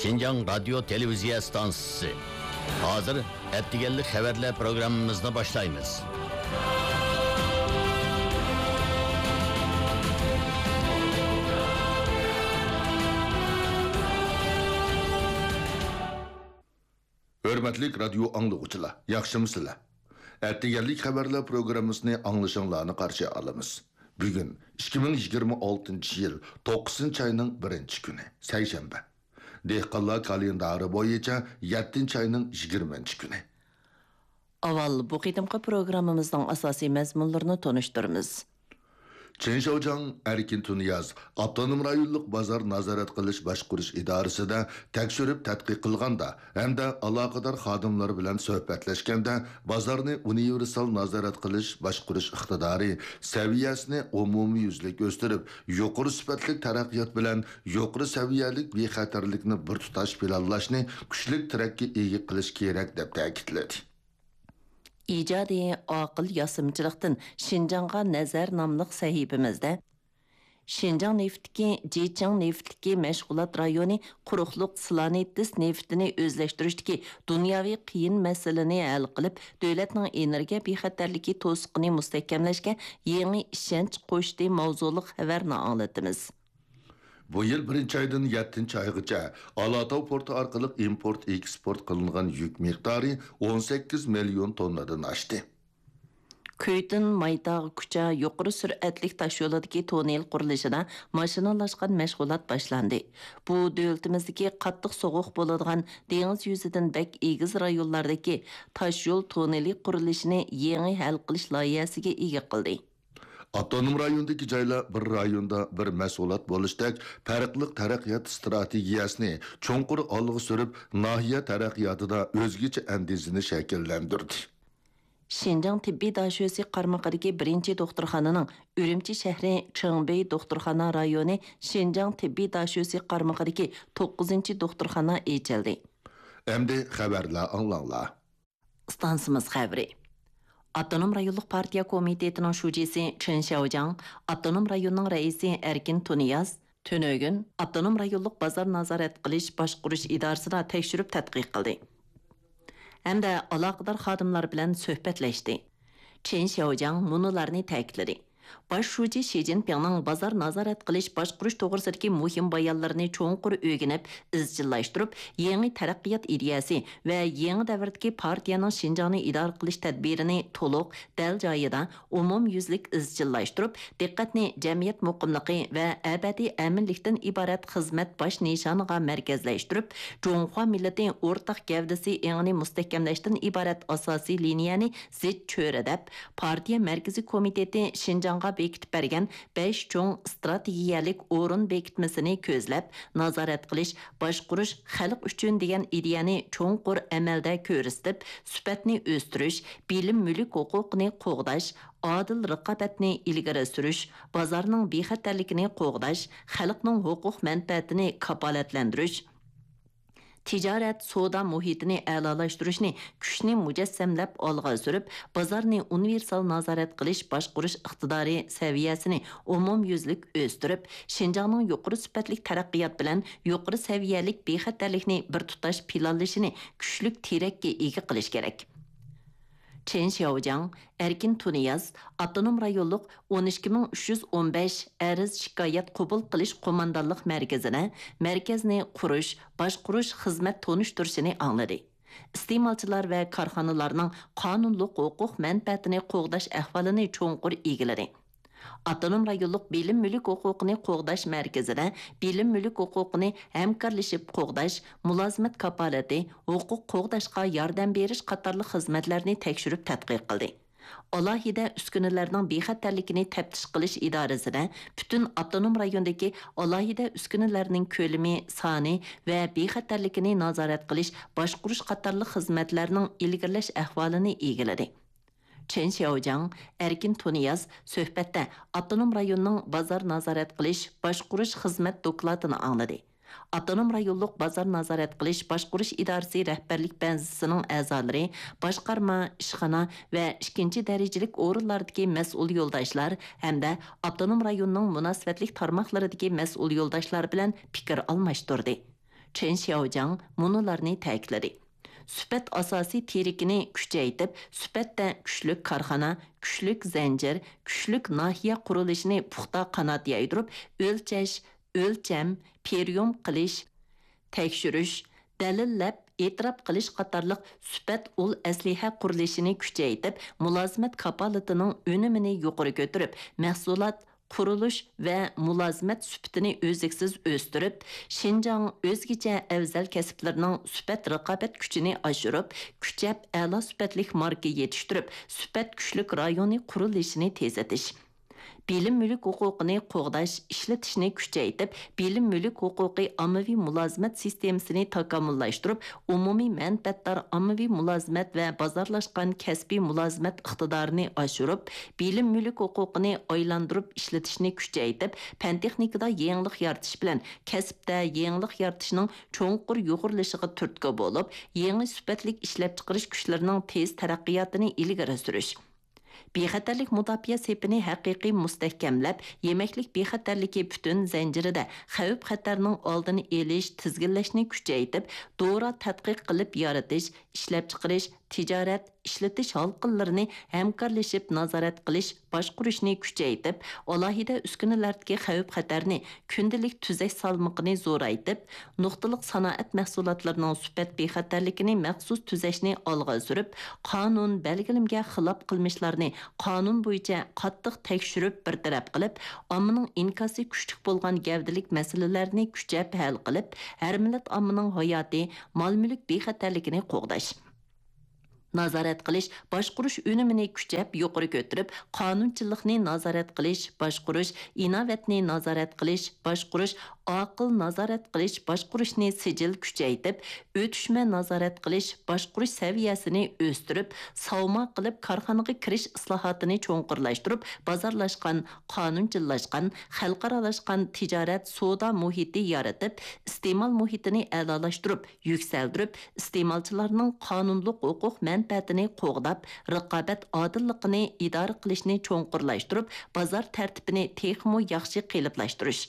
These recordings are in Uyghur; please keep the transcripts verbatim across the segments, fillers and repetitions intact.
شىنجاڭ رادىيو تېلېۋىزىيە ئىستانسىسى. ھازىر ئەتىگەنلىك خەۋەرلەر پروگراممىمىزنى باشلايمىز. ھۆرمەتلىك رادىيو ئاڭلىغۇچىلار، ياخشىمۇسىلەر؟ ئەتىگەنلىك خەۋەرلەر پروگراممىسىنى ئاڭلىشىڭلارنى قارشى ئالىمىز. بۈگۈن ئىككى مىڭ يىگىرمە ئالتىنچى يىل توققۇزىنچى ئاينىڭ بىرىنچى كۈنى، سەيشەنبە. دېھقانلار كالېندارى بويىچە يەتتىنچى ئاينىڭ يىگىرمىنچى كۈنى. ئاۋۋال بۇ قېتىمقى پروگراممىمىزنىڭ ئاساسىي مەزمۇنلىرىنى تونۇشتۇرىمىز. چېن شياۋجياڭ، ئەركىن تۇنىياز ئاپتونوم رايونلۇق بازار نازارەت قىلىش باشقۇرۇش ئىدارىسىدە تەكشۈرۈپ تەتقىق قىلغاندا ھەمدە ئالاقىدار خادىملار بىلەن سۆھبەتلەشكەندە، بازارنى ئۇنىۋېرسال نازارەت قىلىش باشقۇرۇش ئىقتىدارى سەۋىيەسىنى ئومۇميۈزلۈك ئۆستۈرۈپ، يۇقىرى سۈپەتلىك تەرەققىيات بىلەن يۇقىرى سەۋىيەلىك بىخەتەرلىكنى بىر تۇتاش پىلانلاشنى كۈچلۈك تىرەككە ئىگە قىلىش كېرەك، دەپ تەكىتلىدى. ئىجادىي ئاقىل ياسىمىچىلىقتىن شىنجاڭغا نەزەر ناملىق سەھىپىمىزدە، شىنجاڭ نېفىتتىكى جىچىڭ نېفىتلىكى مەشغۇلات رايونى قۇرۇقلۇق سلانېتس نېفىتىنى ئۆزلەشتۈرۈشتىكى دۇنياۋى قىيىن مەسىلىنى ھەل قىلىپ، دۆلەتنىڭ ئېنېرگىيە بىخەتەرلىكى توسۇقىنى مۇستەھكەملەشكە يېڭى ئىشەنچ قوشتى ماۋزۇلۇق خەۋەرنى ئاڭلىتىمىز. بۇ يىل بىرىنچى ئايدىن يەتتىنچى ئايغىچە ئالاتاۋ پورتى ئارقىلىق ئىمپورت، ئېكسپورت قىلىنغان يۈك مىقدارى ئون سەككىز مىليون توننىدىن ئاشتى. كۈيتىن مايتاغ كۇچا يۇقىرى سۈرئەتلىك تاشيولىدىكى توننېل قۇرۇلۇشىدا ماشىنىلاشقان مەشغۇلات باشلاندى. بۇ دۆلىتىمىزدىكى قاتتىق سوغۇق بولىدىغان دېڭىز يۈزىدىن بەك ئېگىز رايونلاردىكى تاشيول توننېلى قۇرۇلۇشىنى يېڭى ھەل قىلىش لايىھەسىگە ئىگە قىلدى. ئاپتونوم رايوندىكى جايلار بىر رايوندا بىر مەھسۇلات بولۇشتەك پەرقلىق تەرەققىيات ئىستراتېگىيەسىنى چوڭقۇر ئالغا سۈرۈپ، ناھىيە تەرەققىياتىدا ئۆزگىچە ئەندىزىنى شەكىللەندۈردى. شىنجاڭ تېببىي داشۆسى قارمىقىدىكى بىرىنچى دوختۇرخانىنىڭ ئۈرۈمچى شەھىرى چېڭبېي دوختۇرخانا رايونى شىنجاڭ تېببىي داشۆسى قارمىقىدىكى توققۇزىنچى دوختۇرخانا ئېچىلدى. ئەمدى خەۋەرلەر ئاڭلاڭلار. ئىستانسىمىز خەۋىرى. ئاپتونوم رايونلۇق پارتىيە كومىتېتىنىڭ شۇجىسى چېن شياۋجياڭ، ئاپتونوم رايوننىڭ رەئىسى ئەركىن تۇنىياز تۈنۈگۈن ئاپتونوم رايونلۇق بازار نازارەت قىلىش باشقۇرۇش ئىدارىسىدا تەكشۈرۈپ تەتقىق قىلدى ھەمدە ئالاقىدار خادىملار بىلەن سۆھبەتلەشتى. چېن شياۋجياڭ مۇنۇلارنى تەكىتلىدى. باش شۇجى شى جىنپىڭنىڭ بازار نازارەت قىلىش باشقۇرۇش توغرىسىدىكى مۇھىم بايانلىرىنى چوڭقۇر ئۆگىنىپ، ئىزچىللاشتۇرۇپ، يېڭى تەرەققىيات ئىدىيەسى ۋە يېڭى دەۋردىكى پارتىيەنىڭ شىنجاڭنى ئىدارە قىلىش تەدبىرىنى تولۇق، دەل جايىدا، ئومۇميۈزلۈك ئىزچىللاشتۇرۇپ، دىققەتنى جەمئىيەت مۇقىملىقى ۋە ئەبەدىي ئەمىنلىكتىن ئىبارەت خىزمەت باش نىشانىغا مەركەزلەشتۈرۈپ، جۇڭخۇا مىللىتى ئورتاق گەۋدىسى ئېڭىنى مۇستەھكەملەشتىن ئىبارەت ئاساسىي لىنىيەنى زىچ چۆرىدەپ، پارتىيە مەركىزىي كومىتېتى شىنجاڭغا بېكىتىپ بەرگەن بەش چوڭ ئىستراتېگىيەلىك ئورۇن بېكىتمىسىنى كۆزلەپ، نازارەت قىلىش، باشقۇرۇش خەلق ئۈچۈن دېگەن ئىدىيەنى چوڭقۇر ئەمەلدە كۆرسىتىپ، سۈپەتنى ئۆستۈرۈش، بىلىم مۈلۈك ھوقۇقىنى قوغداش، ئادىل رىقابەتنى ئىلگىرى سۈرۈش، بازارنىڭ بىخەتەرلىكىنى قوغداش، خەلقنىڭ ھوقۇق مەنپەئەتىنى كاپالەتلەندۈرۈش، تىجارەت، سودا مۇھىتىنى ئەلالاشتۇرۇشنى كۈچنى مۇجەسسەملەپ ئالغا سۈرۈپ، بازارنى ئۇنىۋېرسال نازارەت قىلىش باشقۇرۇش ئىقتىدارى سەۋىيەسىنى ئومۇميۈزلۈك ئۆستۈرۈپ، شىنجاڭنىڭ يۇقىرى سۈپەتلىك تەرەققىيات بىلەن يۇقىرى سەۋىيەلىك بىخەتەرلىكنى بىر تۇتاش پىلانلىشىنى كۈچلۈك تىرەككە ئىگە قىلىش كېرەك. چېن شياۋجياڭ، ئەركىن تۇنىياز ئاپتونوم رايونلۇق ئون ئىككى مىڭ ئۈچ يۈز ئون بەش ئەرز شىكايەت قوبۇل قىلىش قوماندانلىق مەركىزىدە مەركەزنى قۇرۇش، باشقۇرۇش خىزمەت تونۇشتۇرۇشىنى ئاڭلىدى. ئىستېمالچىلار ۋە كارخانىلارنىڭ قانۇنلۇق ھوقۇق مەنپەئەتىنى قوغداش ئەھۋالىنى چوڭقۇر ئىگىلىدى. ئاپتونوم رايونلۇق بىلىم مۈلۈك ھوقۇقىنى قوغداش مەركىزىدە بىلىم مۈلۈك ھوقۇقىنى ھەمكارلىشىپ قوغداش، مۇلازىمەت كاپالىتى، ھوقۇق قوغداشقا ياردەم بېرىش قاتارلىق خىزمەتلەرنى تەكشۈرۈپ تەتقىق قىلدى. ئالاھىدە ئۈسكۈنىلەرنىڭ بىخەتەرلىكىنى تەپتىش قىلىش ئىدارىسىدە پۈتۈن ئاپتونوم رايوندىكى ئالاھىدە ئۈسكۈنىلەرنىڭ كۆلىمى، سانى ۋە بىخەتەرلىكىنى نازارەت قىلىش، باشقۇرۇش قاتارلىق خىزمەتلەرنىڭ ئىلگىرىلەش ئەھۋالىنى ئىگىلىدى. چېن شياۋجياڭ، ئەركىن تۇنىياز سۆھبەتتە ئاپتونوم رايوننىڭ بازار نازارەت قىلىش، باشقۇرۇش خىزمەت دوكلاتىنى ئاڭلىدى. ئاپتونوم رايونلۇق بازار نازارەت قىلىش باشقۇرۇش ئىدارىسى رەھبەرلىك بەنزىسىنىڭ ئەزالىرى، باشقارما، ئىشخانا ۋە ئىككىنچى دەرىجىلىك ئورۇنلاردىكى مەسئۇل يولداشلار ھەمدە ئاپتونوم رايوننىڭ مۇناسىۋەتلىك تارماقلىرىدىكى مەسئۇل يولداشلار بىلەن پىكىر ئالماشتۇردى. چېن شياۋجياڭ مۇنۇلارنى تەكىتلىدى: سۈپەت ئاساسىي تىرىكىنى كۈچەيتىپ، سۈپەتتە كۈچلۈك كارخانا، كۈچلۈك زەنجىر، كۈچلۈك ناھىيە قۇرۇلۇشىنى پۇختا قانات يايدۇرۇپ، ئۆلچەش، ئۆلچەم، پرىيوم قىلىش، تەكشۈرۈش، دەلىللەپ ئېتىراپ قىلىش قاتارلىق سۈپەت ئۇل ئەسلىھە قۇرۇلۇشىنى كۈچەيتىپ، مۇلازىمەت كاپالىتىنىڭ ئۈنۈمىنى يۇقىرى كۆتۈرۈپ، مەھسۇلات، قۇرۇلۇش ۋە مۇلازىمەت سۈپىتىنى ئۈزلۈكسىز ئۆستۈرۈپ، شىنجاڭ ئۆزگىچە ئەۋزەل كەسىپلىرىنىڭ سۈپەت رىقابەت كۈچىنى ئاشۇرۇپ، كۈچەپ ئەلا سۈپەتلىك ماركا يېتىشتۈرۈپ، سۈپەت كۈچلۈك رايونى قۇرۇلۇشىنى تېزلىتىش. بىلىم مۈلۈك ھوقۇقىنى قوغداش، ئىشلىتىشنى كۈچەيتىپ، بىلىم مۈلۈك ھوقۇقى ئاممىۋى مۇلازىمەت سىستېمىسىنى تاكامۇللاشتۇرۇپ، ئومۇمىي مەنپەئەتدار ئاممىۋى مۇلازىمەت ۋە بازارلاشقان كەسپىي مۇلازىمەت ئىقتىدارىنى ئاشۇرۇپ، بىلىم مۈلۈك ھوقۇقىنى ئايلاندۇرۇپ ئىشلىتىشنى كۈچەيتىپ، پەن تېخنىكىدا يېڭىلىق يارىتىش بىلەن كەسىپتە يېڭىلىق يارىتىشنىڭ چوڭقۇر يۇغۇرۇلۇشىغا تۈرتكە بولۇپ، يېڭى سۈپەتلىك ئىشلەپچىقىرىش كۈچلىرىنىڭ تېز تەرەققىياتىنى ئىلگىرى سۈرۈش. بىخەتەرلىك مۇداپىئە سېپىنى ھەقىقىي مۇستەھكەملەپ، يېمەكلىك بىخەتەرلىكى پۈتۈن زەنجىرىدە خەۋپ-خەتەرنىڭ ئالدىنى ئېلىش، تىزگىنلەشنى كۈچەيتىپ، دورا تەتقىق قىلىپ يارىتىش، ئىشلەپچىقىرىش، تىجارەت، ئىشلىتىش ھالقىلىرىنى ھەمكارلىشىپ نازارەت قىلىش، باشقۇرۇشنى كۈچەيتىپ، ئالاھىدە ئۈسكۈنىلەردىكى خەۋپ-خەتەرنى كۈندىلىك تۈزەش سالمىقىنى زورايتىپ، نۇقتىلىق سانائەت مەھسۇلاتلىرىنىڭ سۈپەت بىخەتەرلىكىنى مەخسۇس تۈزەشنى ئالغا سۈرۈپ، قانۇن، بەلگىلىمىگە خىلاپ قىلمىشلارنى قانۇن بويىچە قاتتىق تەكشۈرۈپ بىر تەرەپ قىلىپ، ئاممىنىڭ ئىنكاسى كۈچلۈك بولغان گەۋدىلىك مەسىلىلەرنى كۈچەپ ھەل قىلىپ، ھەر مىللەت ئاممىنىڭ ھاياتى، مال-مۈلۈك بىخەتەرلىكىنى قوغداش. نازارەت قىلىش، باشقۇرۇش ئۈنۈمىنى كۈچەپ يۇقىرى كۆتۈرۈپ، قانۇنچىللىقنى نازارەت قىلىش، باشقۇرۇش، ئىناۋەتنى نازارەت قىلىش، باشقۇرۇش، ئاقىل نازارەت قىلىش، باشقۇرۇشنى سىجىل كۈچەيتىپ، ئۆتۈشمە نازارەت قىلىش، باشقۇرۇش سەۋىيەسىنى ئۆستۈرۈپ، ساۋما قىلىپ كارخانىغا كىرىش ئىسلاھاتىنى چوڭقۇرلاشتۇرۇپ، بازارلاشقان، قانۇنچىللاشقان، خەلقئارالاشقان تىجارەت، سودا مۇھىتى يارىتىپ، ئىستېمال مۇھىتىنى ئەلالاشتۇرۇپ، يۈكسەلدۈرۈپ، ئىستېمالچىلارنىڭ قانۇنلۇق ھوقۇق مەنپەئەتىنى قوغداپ، رىقابەت ئادىللىقىنى ئىدارە قىلىشنى چوڭقۇرلاشتۇرۇپ، بازار تەرتىپىنى تېخىمۇ ياخشى قېلىپلاشتۇرۇش،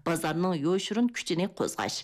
بازارنىڭ يوشۇرۇن كۈچىنى قوزغاش.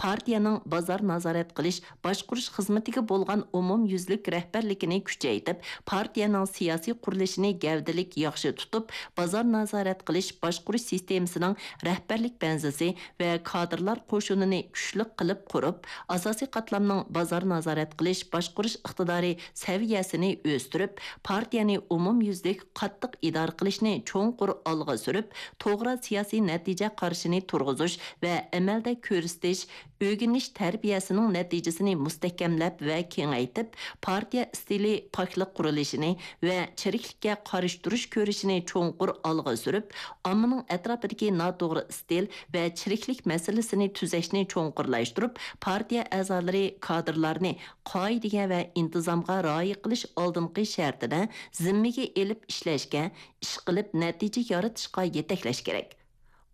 پارتىيەنىڭ بازار نازارەت قىلىش، باشقۇرۇش خىزمىتىگە بولغان ئومۇميۈزلۈك رەھبەرلىكىنى كۈچەيتىپ، پارتىيەنىڭ سىياسىي قۇرۇلۇشىنى گەۋدىلىك ياخشى تۇتۇپ، بازار نازارەت قىلىش، باشقۇرۇش سىستېمىسىنىڭ رەھبەرلىك بەنزىسى ۋە كادىرلار قوشۇنىنى كۈچلۈك قىلىپ قۇرۇپ، ئاساسىي قاتلامنىڭ بازار نازارەت قىلىش، باشقۇرۇش ئىقتىدارى سەۋىيەسىنى ئۆستۈرۈپ، پارتىيەنى ئومۇميۈزلۈك قاتتىق ئىدارە قىلىشنى چوڭقۇر ئالغا سۈرۈپ، توغرا سىياسىي نەتىجە قارىشىنى تۇرغۇزۇش ۋە ئەمەلدە كۆرسىتىش، ئۆگىنىش تەربىيەسىنىڭ نەتىجىسىنى مۇستەھكەملەپ ۋە كېڭەيتىپ، پارتىيە ئىستىلى پاكلىق قۇرۇلۇشىنى ۋە چىرىكلىككە قارشى تۇرۇش كۈرىشىنى چوڭقۇر ئالغا سۈرۈپ، ئاممىنىڭ ئەتراپىدىكى ناتوغرا ئىستىل ۋە چىرىكلىك مەسىلىسىنى تۈزەشنى چوڭقۇرلاشتۇرۇپ، پارتىيە ئەزالىرى، كادىرلارنى قائىدىگە ۋە ئىنتىزامغا رىئايە قىلىش ئالدىنقى شەرتىدە زىممىگە ئېلىپ ئىشلەشكە، ئىشقىلىپ نەتىجە يارىتىشقا يېتەكلەش كېرەك.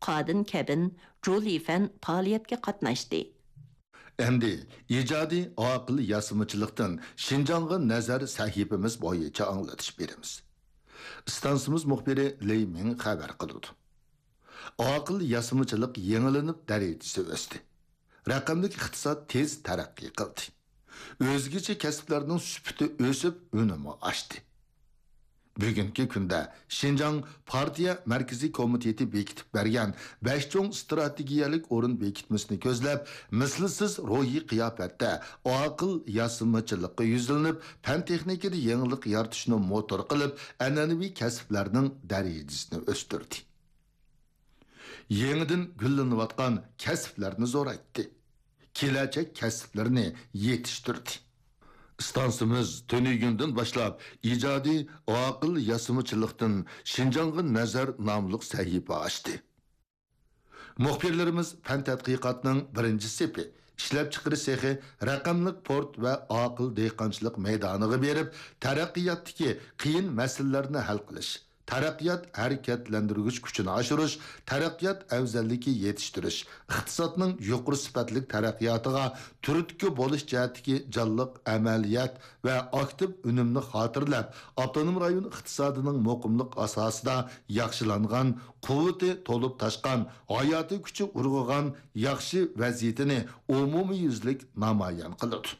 قادىن كەبىن، جۇ لىفەن پائالىيەتكە قاتناشتى. ئەمدى ئىجادىي ئاقىل ياسىمىچىلىقتىن شىنجاڭغا نەزەر سەھىپىمىز بويىچە ئاڭلىتىش بېرىمىز. ئىستانسىمىز مۇخبىرى لېي مىڭ خەۋەر قىلىدۇ. ئاقىل ياسىمىچىلىق يېڭىلىنىپ دەرىجىسى ئۆستى. رەقەملىك ئىقتىساد تېز تەرەققىي قىلدى. ئۆزگىچە كەسىپلەرنىڭ سۈپىتى ئۆسۈپ، ئۈنۈمى ئاشتى. بۈگۈنكى كۈندە شىنجاڭ پارتىيە مەركىزىي كومىتېتى بېكىتىپ بەرگەن بەش چوڭ ئىستراتېگىيەلىك ئورۇن بېكىتمىسىنى كۆزلەپ، مىسلىسىز روھىي قىياپەتتە ئاقىل ياسىمىچىلىققا يۈزلىنىپ، پەن تېخنىكىدا يېڭىلىق يارىتىشنى موتور قىلىپ، ئەنئەنىۋى كەسىپلەرنىڭ دەرىجىسىنى ئۆستۈردى. يېڭىدىن گۈللىنىۋاتقان كەسىپلەرنى زورايتتى. كېلەچەك كەسىپلىرىنى يېتىشتۈردى. ئىستانسىمىز تۈنۈگۈندىن باشلاپ ئىجادىي ئاقىل ياسىمىچىلىقتىن شىنجاڭغا نەزەر ناملىق سەھىپە ئاچتى. مۇخبىرلىرىمىز پەن تەتقىقاتنىڭ بىرىنچى سېپى، ئىشلەپچىقىرىش سېخى، رەقەملىك پورت ۋە ئاقىل دېھقانچىلىق مەيدانىغا بېرىپ، تەرەققىياتتىكى قىيىن مەسىلىلەرنى ھەل قىلىش، تەرەققىيات ھەرىكەتلەندۈرگۈچ كۈچىنى ئاشۇرۇش، تەرەققىيات ئەۋزەللىكى يېتىشتۈرۈش، ئىقتىسادنىڭ يۇقىرى سۈپەتلىك تەرەققىياتىغا تۈرتكە بولۇش جەھەتتىكى جانلىق ئەمەلىيەت ۋە ئاكتىپ ئۈنۈمنى خاتىرىلەپ، ئاپتونوم رايون ئىقتىسادىنىڭ مۇقىملىق ئاساسىدا ياخشىلانغان، قۇۋۋىتى تولۇپ تاشقان، ھاياتىي كۈچى ئۇرغۇغان ياخشى ۋەزىيىتىنى ئومۇميۈزلۈك نامايان قىلىدۇ.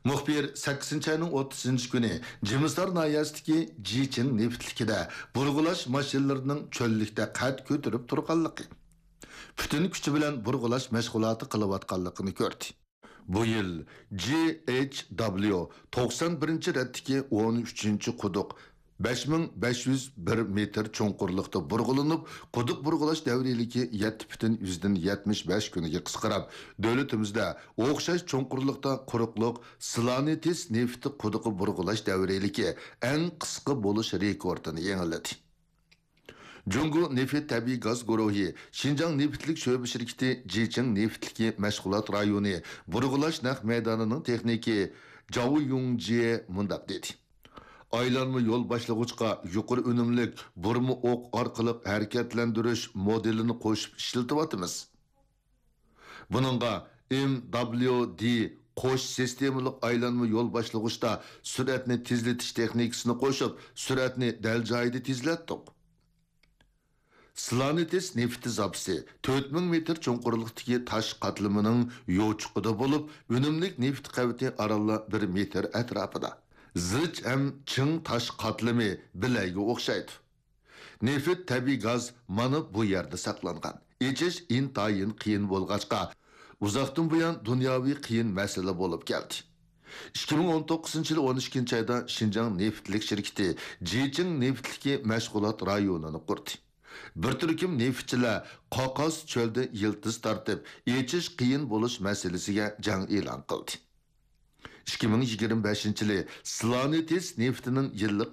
مۇخبىر سەككىزىنچى ئاينىڭ ئوتتۇزىنچى كۈنى جىمىستار ناھىيەسىدىكى جىچىڭ نېفىتلىكىدە بۇرغىلاش ماشىنىلىرىنىڭ چۆللۈكتە قەد كۆتۈرۈپ تۇرغانلىقى، پۈتۈن كۈچى بىلەن بۇرغىلاش مەشغۇلاتى قىلىۋاتقانلىقىنى كۆردى. بۇ يىل جى ئېيچ دابليۇ توقسان بىرىنچى رەتتىكى ئون ئۈچىنچى قۇدۇق بەش مىڭ بەش يۈز بىر مېتىر چوڭقۇرلۇقتا بۇرغىلىنىپ، قۇدۇق بۇرغىلاش دەۋرىيلىكى يەتتە پۈتۈن يۈزدىن يەتمىش بەش كۈنگە قىسقىراپ، دۆلىتىمىزدە ئوخشاش چوڭقۇرلۇقتا قۇرۇقلۇق سلانېتس نېفىتى قۇدۇقى بۇرغىلاش دەۋرىيلىكى ئەڭ قىسقا بولۇش رېكورتىنى يېڭىلىدى. جۇڭگو نېفىت تەبىئىي گاز گۇرۇھى شىنجاڭ نېفىتلىك شۆبە شىركىتى جىچىڭ نېفىتلىكى مەشغۇلات رايونى بۇرغىلاش نەق مەيدانىنىڭ تېخنىكى جاۋ يۇڭجيې مۇنداق دېدى: ئايلانما يول باشلىغۇچقا يۇقىرى ئۈنۈملۈك بۇرما ئوق ئارقىلىق ھەرىكەتلەندۈرۈش مودېلىنى قوشۇپ ئىشلىتىۋاتىمىز. بۇنىڭغا ئېم دابلىيۇ دى قوش سىستېمىلىق ئايلانما يول باشلىغۇچتا سۈرئەتنى تېزلىتىش تېخنىكىسىنى قوشۇپ، سۈرئەتنى دەل جايىدا تېزلەتتۇق. سلانېتس نېفىتى زاپىسى تۆت مىڭ مېتىر چوڭقۇرلۇقتىكى تاش قاتلىمىنىڭ يوچۇقىدا بولۇپ، ئۈنۈملۈك نېفىت قەۋىتى ئارانلا بىر مېتىر ئەتراپىدا. زىچ ھەم چىڭ تاش قاتلىمى بىلەيگە ئوخشايدۇ. نېفىت، تەبىئىي گاز مانا بۇ يەردە ساقلانغان. ئېچىش ئىنتايىن قىيىن بولغاچقا، ئۇزاقتىن بۇيان دۇنياۋى قىيىن مەسىلە بولۇپ كەلدى. ئىككى مىڭ ئون توققۇزىنچى يىل ئون ئىككىنچى ئايدا شىنجاڭ نېفىتلىك شىركىتى جىچىڭ نېفىتلىكى مەشغۇلات رايونىنى قۇردى. بىر تۈركۈم نېفىتچىلەر قاقاس چۆلدە يىلتىز تارتىپ، ئېچىش قىيىن بولۇش مەسىلىسىگە جەڭ ئېلان قىلدى. ئىككى مىڭ يىگىرمە بەشىنچى يىلى سلانېتس نېفىتىنىڭ يىللىق